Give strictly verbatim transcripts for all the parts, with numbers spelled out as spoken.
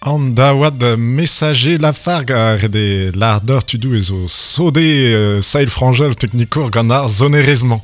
An daouad Messager Lafargue a rede l'ardeur tudou ezo sode euh, sail frangel teknikour gant ar zonerezman.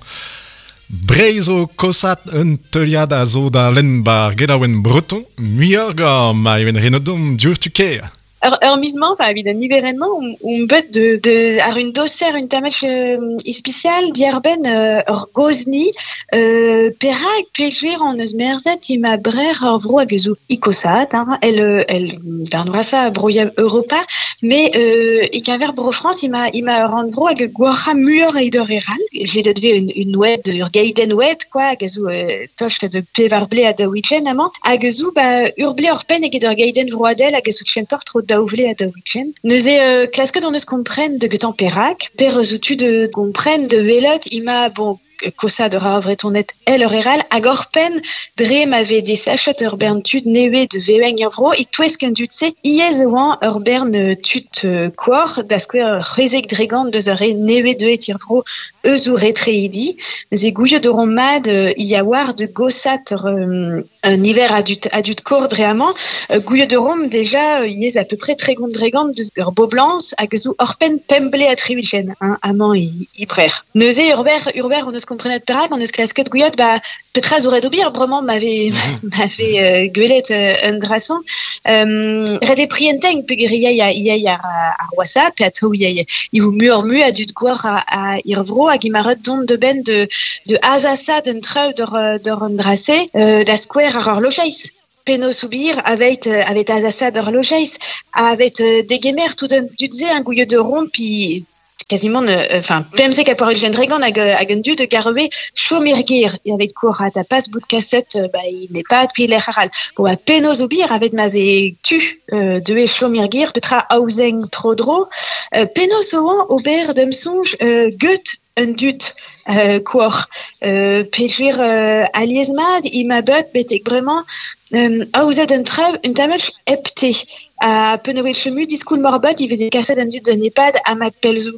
Breiz o kosat un teuliad a zo da lenn bar gelaouen breton, muioc'h gant ma ewen renodom diour tu ker. Ur, ur miz-mañ, enfin, evit an niverenn-mañ, on, on bet de, de, ar un doser un tammech euh, ispicial diarbenn euh, ur gozni euh, perak peogwir an eus merzet ima brer ur vro hag eus o ikosat, hein, el, el darn vrasa broia Europa, mais euh, e keñver bro France ima, ima ur rannvro hag gwac'ha muioc'h eget ur eral. J'ai det ve un, un oued, ur gaiden oued, quoi, hag a zo euh, tost de pevar ble a daou ugent amañ, hag a zo ba, ur ble ur penn eget ur gaiden vroadel hag a zo kentoc'h tro daou vle a daou ugent. Neuze euh, klasket on eus kompren de getan perak, per eus tu de kompren de welot ima bon kosa de ra vretonet el ur eral hag ur penn dre ma ve desachet ur bern tud newe de veweng ur vro e touesk un dud se iez oan ur bern tud euh, koar da skouer c'hwezek dregant deus ur re newe de et vro eus ou retreidi. Neuze gouiet de ron mad euh, i a war de gosat ur, euh, un hiver adut, adut kor dre amañ. Euh, gouiet de rom déjà euh, iez à peu près tregont dregant deus ur boblans hag eus ou ur penn pemble a triwichen, hein, amañ i, i brer. Neuze ur ber, ur ber on eus komprenet perak, on eus klasket gouiet, ba, petra zo ret ober, bremañ m'ave, m'ave euh, gwelet euh, un drasan. Euh, ret e prienteng peogwir ia ia ia ia ar, ar WhatsApp, pe atao ia ia i vo muioc'h mui a dud gwar a, a ir vro hag i ma ret dont de ben de, de azasa d'un treu d'ur, d'ur un drase, euh, da skouer ar ur lojeiz. Penaos ober avet, euh, avet azasa d'ur lojeiz, avet euh, degemer tout un dud se un gouiet de rond, pi quasiment, euh, enfin, pemzek a por ugent dregant hag, hag un dud garve chomergir et avec kour a ta pas bout de cassette, euh, bah, il n'est pas puis l'air aral. Bon, bah, penaos ober avet m'ave tu, euh, de chomergir, petra aouzeng tro dro, euh, penaos oan ober dem sonj, euh, gut un dud, euh, kour, euh, peogwir, euh, aliez mad, ima bet betek bremañ, euh, aouzet un treb, un tammech hepte. A penaos chemu diskoul morbet, il veze kaset an dud d'un EHPAD a mat pelzo.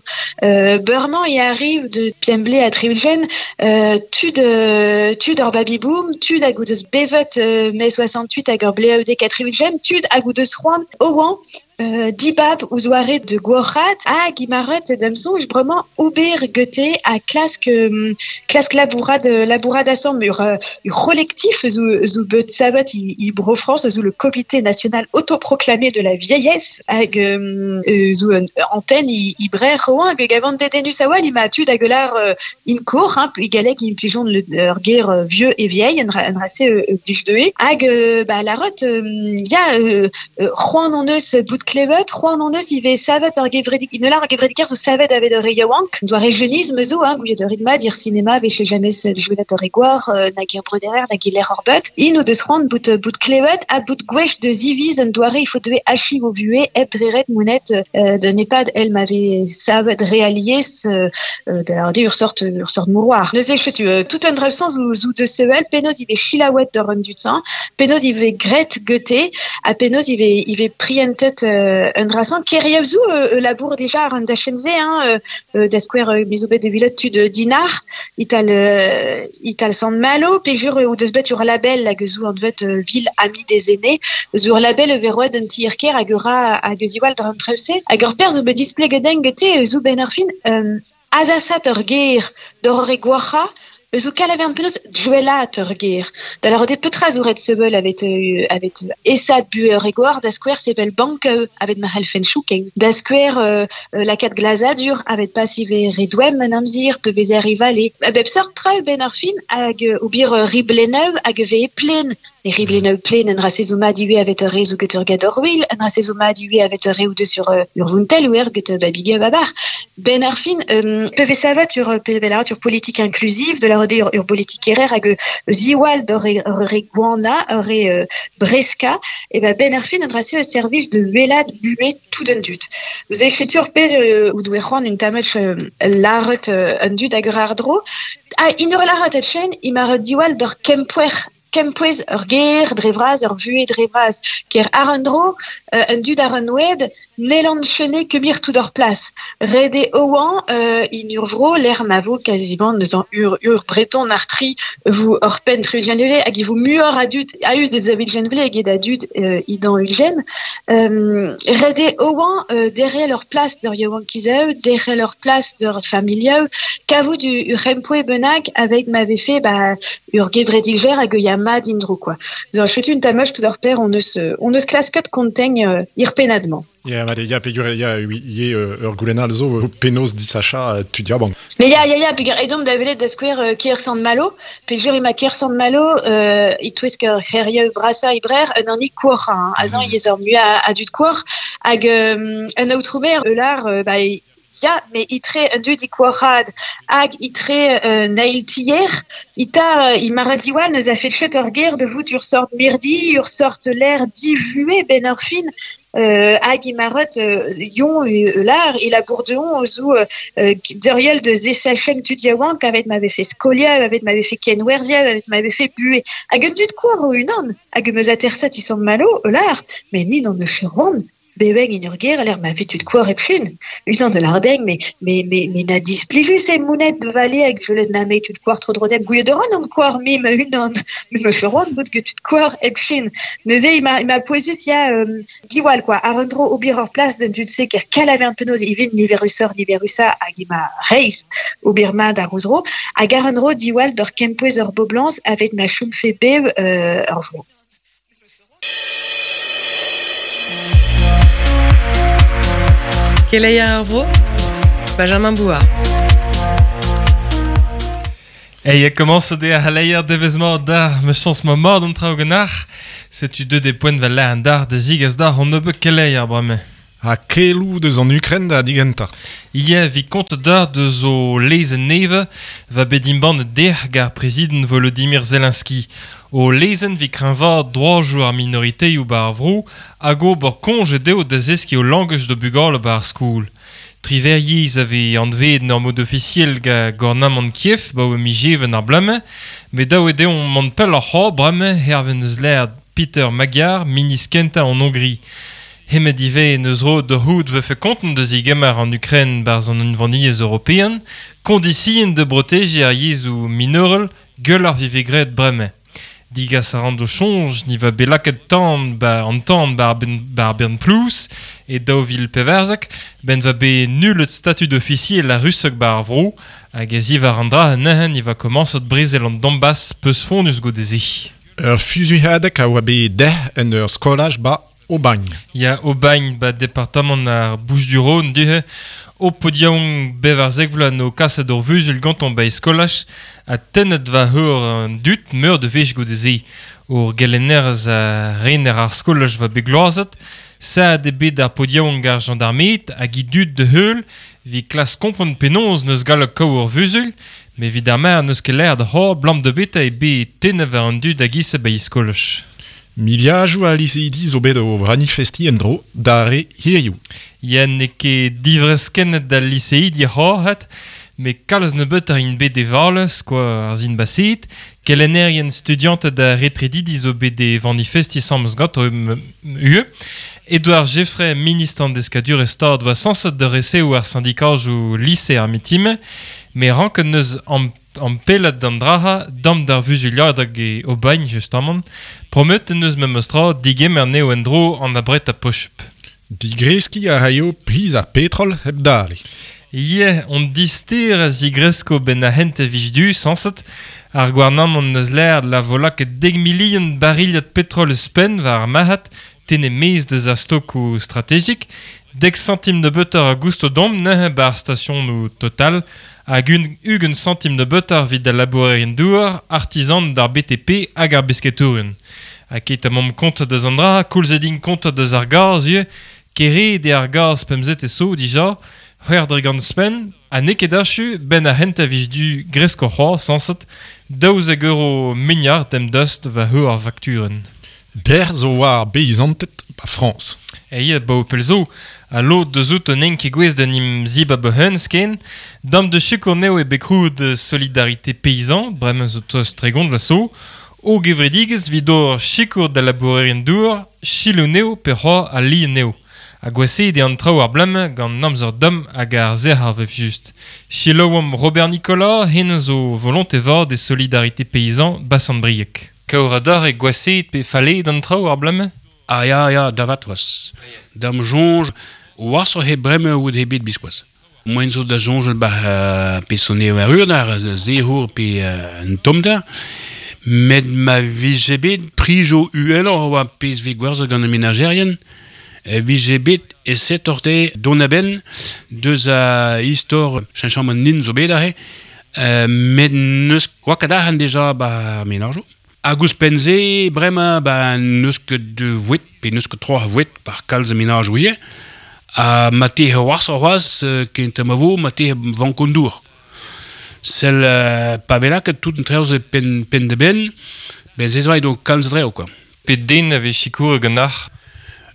Euh, Beurmañ i arrive de piemble a triulgen, euh, tud, euh, tud ur baby boom, tud hag o deus bevet, euh, mai soixante-huit hag ur bleaudek a triulgen, tud hag o deus c'hoant oan, euh, dibab ouzh oare de gwoc'hat hag imaret d'am soñj bremañ ober gete a klask, euh, klask labourad, labourad asambl ur, euh, ur c'holektif zo, zo bet savet i, i Bro France, zo le comité national autoproclamé de la vieillesse hag, euh, zo un antenne i, i brer roan hag gavant dedenus a oa, ima tud hag lar, euh, in kour, hein, i galleg in plijon le, ur ger, euh, vieux et vieille, un ra, un rase, euh, euh, blij deue, hag, euh, ba, la rot, euh, ya, euh, euh, c'hoant an eus bout klevet, c'hoant an eus ive savet ur gevredik, in lar ur gevrediker zo savet avet ur re yaouank, doa rejeunisme zo, hein, gouiet ur ritmad, ir cinéma, veche jamais jouet ur egoar, euh, nag ir brederer, nag ir lec'h ur beut, in o deus c'hoant bout, bout klevet, ha bout gwech de ziviz un doare, il faut deue achiv o vue, hep dreret mounet, euh, de nepad, el m'avait savet réalies, euh, euh, de la ur sort, ur sort mouroir. Neuze chetu, euh, tout un dref sens zou, zou de sewel, penaos ive chilaouet d'ur un dud sang, penaos ive gret gete, ha penaos ive, ive prientet, euh, un drasan, keriev zou, euh, labour déjà ar un dachenze, hein, euh, euh, da skouer, euh, mizo bet de vilot tud dinar, ital, euh, ital sant malo, pejur, euh, ou deus bet ur label hag zou an vet, euh, ville amie des aînés, zou ur label veroet un tirker hag ur a, hag eus iwal d'ur an treuze, hag ur perz zo bet displeget gete, zou ben ar fin, euh, azasat ur ger d'ur re gwac'ha, eus o kalavern penaos duelat ur ger. Da la rode petra zo ret sevel avet, euh, avet esad bu ur egoar, da skouer sevel bank, euh, avet ma helfen chouken. Da skouer, euh, euh, la kat glazadur avet pas ive redouem an amzir, pe veze arrivale. A bep sort tra ben ar fin hag, euh, obir, euh, ribleneu hag ve plen. E ribleneu plen en rasezo mad iwe avet ur re zo get ur gador wil, en rasezo mad iwe avet ur re ou de sur, euh, ur vuntel ou er get, euh, babiga babar. Ben ar fin, euh, pe ve savet ur, pe ve la ur politique inclusive, de la rode ur, ur politique erer hag, euh, ziwal d'ur re, ur re gwana, ur re, euh, breska, e ba ben ar fin en rase ur service de welad buet tout d'un dut. Vous avez fait ur pe, euh, ou doe c'hoant un tamech, euh, laret, euh, un dut hag ur ar dro. Ah, in ur laret et chen, i ma diwal d'ur kempouer kempouez ur ger dre vras, ur vue dre vras, ker ar un dro, euh, un dud ar un oued, N'elan chene kemir tout ur plas. Rede oan euh, in ur vro l'er ma vo quasiment neus an ur, ur breton artri vous ur pen trugenvele hag i vo muor adut aus de zavid genvele hag ed adut euh, idan ulgen. Euh, rede oan euh, derrière leur place d'ur yaouan kizeu, derrière leur place d'ur familieu, kavout du ur rempoe benak avec m'avait fait bah ur gevredigver hag ya mad indro quoi. Zo chetu un tamoch tout ur per on eus on eus klasket kontegn euh, ir penadement. Ya, ma ya pegur ya ye ur goulenal zo penaos disacha tu dia bon. Mais ya ya ya pegur edom da velet da skouer euh, kier sant malo, pegur ema kier sant malo euh itouez ker c'herieu brasa ibrer un anni kour hein, azan mm. yez ur mua adut kour hag euh, un aotroumer eular euh, ba ya, mais itre un dud i kourad hag itre euh, nail tier, ita i maradiwal neus a fait chet ur ger de vout ur sort mirdi, ur sort l'air divué ben ur fin Euh, hag i marot euh, yon euh, lar e la bourdeon ozo euh, deriel de zesachen tud yaouank avet m'avait fait skolia, avet m'avait fait kenwerzia, avet m'avait fait bué. Hag un dud koar o unan, hag meus aterset i sant malo, lar, mais ni n'en eus ran. Beweng in ur ger, l'air ma tud koar epfun. Unan de lardeng, mais, mais, mais, mais na displijus e mounet de vale hag velet na me tud koar tro drodem. Gouye de ran an koar mim unan, me me feron bout tud koar epfun. Neuze, il m'a, il m'a poezus ya, euh, diwal, quoi. Ar un dro obir ur plas d'un dud se ker kalaver un penoz ivin ni verusor ni verusa hag i ma reiz obir mad ar ouzro. Hag ar un dro diwal d'ur kempouez ur boblans avet ma choum fe bev, euh, ur vro. Keleier ar vro, Benjamin Bouard. Hey, commence de a leier devezmañ d'ar me chans ma mord an traoù ganac'h. Setu deux des poent vel an d'ar de zigaz d'ar an nebeut keleier bremañ. Ha kelou deus an Ukren da digenta. Ie vi kont d'ar deus o lezen neve va bet imban der gar prezident Volodymyr Zelensky. O lezen vi kreñva droajoù ar minoriteioù ba ar vro hag ober konj dezho da zeskiñ o langaj do bugale ba ar skol. Triveriez ave anveet n'ur mod officiel ga gornamant Kiev ba o mijeven ar blame, met daou eo deomp mont pell ar c'hor bremañ hervez eus l'air Peter Magyar, ministr kentañ en Hongrie. Hemet ivez neus ro de houd vefe konten deus igemmer an Ukraine barz an unvaniez european, kondisien de proteger ar yezhoù minorel gueul ar vive graet bremañ. Digas a ran do chonj, ni va belaket tan ba an tan ba ar ben, ba ar bern plouz, e daou vil peverzek, ben va be nullet statut d'officier la russek ba ar vro, hag ez ivar an dra nehen i va komañsot brezel an Donbass peus fondus godeze. Ur fuzuilhadeg a oa bet deh en ur skolaj ba Aubagne. Ya Aubagne ba departamant ar Bouches-du-Rhône duhe, o podiaon bevarzek vloaz no kaset ur vuzul ganton ba eskolaj a tennet va heur an dut meur de vech godeze. Ur gelennerez a rener ar skolaj va begloazet, sa de bet ar podiaon gar gendarmeet hag i dut de heul vi klas kompren penaos neus gallek kaou ur vuzul, me vid ar mer neus ket l'air da c'hor blam de beta e be tennet va an dut hag ise ba eskolaj. Miliajoù a liseidi zo bet o manifesti en dro d'ar re hiziv. Ya n'eo ket divreskennet d'al liseidi c'horc'het, me kalz nebeut ar int bet e skoa ar zin baset, kelennerien studianted da retredidi zo bet e manifesti samz gant o ue. Edouard Geffray, ministre an deskadur e stad oa sañset de resev ar syndikajoù lise ar mitime, me ranket neus an an pellat d'an draha, dam d'ar vuzuliadeg e Aubagne, justement, promet neus memes tra digemer neo en dro an abret a pochup. Digreski a raio priz ar petrol hep dale. Ie, on dister a zigresko ben a hent e vij du, sañset, ar gouarnamant neus l'air la volak e deg milion bariliad petrol spen war ar marc'had, tene mez deus ar stokoù strategik, dek centim de butter a gousto dom neuze ba ar station Total, hag un ugent centim de butter vid al labourerien douar, artisan d'ar B T P hag ar besketourien. Ha ket a mom kont deus an dra, koulz edin kont deus ar gaz ivez, kere de ar gaz pemzet e so dija, c'hwec'h dre gant spen, ha n'eo ket achu ben ar hent a vij du gresk o c'hoar sañset, daouzek euro mignard dem dust va heur ar fakturenn. Ber zo war beizanted ba Frañs. Eie, ba o pel zo, a lod deus out un enk egouez d'un im zib a beun sken, dam de chikour neo e bekroud Solidarité Paysan, bremañ zo tost tregont la so, o gevredigez vid or chikour da labourerien dour, chilou neo pe c'hoar a li neo. A gwaseet e an traoù ar blam gant namzer dom hag ar zer ar vef just. Chiloam Robert Nicolas, hen zo volonté vat de solidarité paysan basan briek. Kaour e gwaseet pe fale d'an traoù ar blam? Ah ya, ya, davat oas. Dam jonj, oas he breme oud he bet biskoaz. Moen zo da jonjel ba uh, pe sonne war ur ar zehour pe uh, un tomder. Met ma vije bet prijo uheloc'h oa pezh vez gwerzhet gant an menajerien, vije bet e set orte don a-benn deus a istor cheñchamant nin zo bet aze, euh, met neus oa ket arc'hant deja ba menarjo. Hag ouzhpenn-se, bremañ ba neus ket de vouet, pe neus ket tro a vouet par kalz a menaj ouie, ha ma te c'hoazh c'hoazh kent ma vo, ma te vank an dour. Sel euh, pa vela ket tout an treo pen, pen de ben, ben ze zo do kalz dreo, quoi. Pe den a vez sikour gant ar?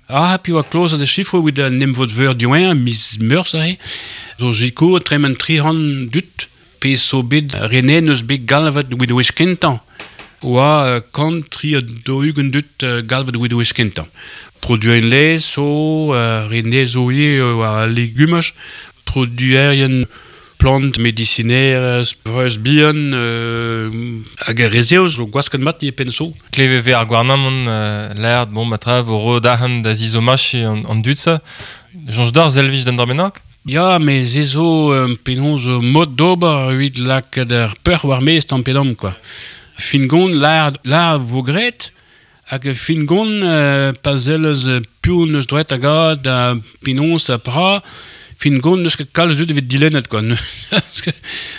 Ah, pi oa kloz a de chifro oud an nemvod veur dioen, mis meurs ahe. Zo jikour tremen tri c'hant dut, pe so bet renen eus bet galvet oud wech kentañ. Oa kant tri do ugent dut galvet oud wech kentañ. Produen lez so, uh, rene zo ie oa legumaj, produerien plant médicinaire, breuz bihan, euh, hag ar rezeo zo gwasket mat e penso. Kleve ve ar gouarnamant euh, l'air, bon, matra, vo ro dahan da zizomach e an, an dut sa. Jonj d'ar zelvij d'an darbenak? Ya, me ze zo euh, penaos mod d'ober evit lak d'ar peur war mez tamm pe damm, quoi. Fin gont l'ar, l'ar vo gret, hag fin gont euh, pa zellez piv neus droet hag a da penaos a pra, fin gont neus ket kalz dut evit dilennet, quoi.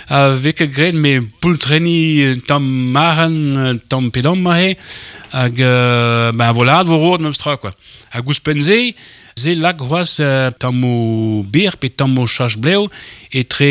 A vez ket graet me poultreni tamm maran, tamm pe damm mahe, hag euh, ben voilà, vo rod memes tra, quoi. Hag ouzhpenn-se, se lak c'hoazh euh, tammoù bir pe tammoù chach blev etre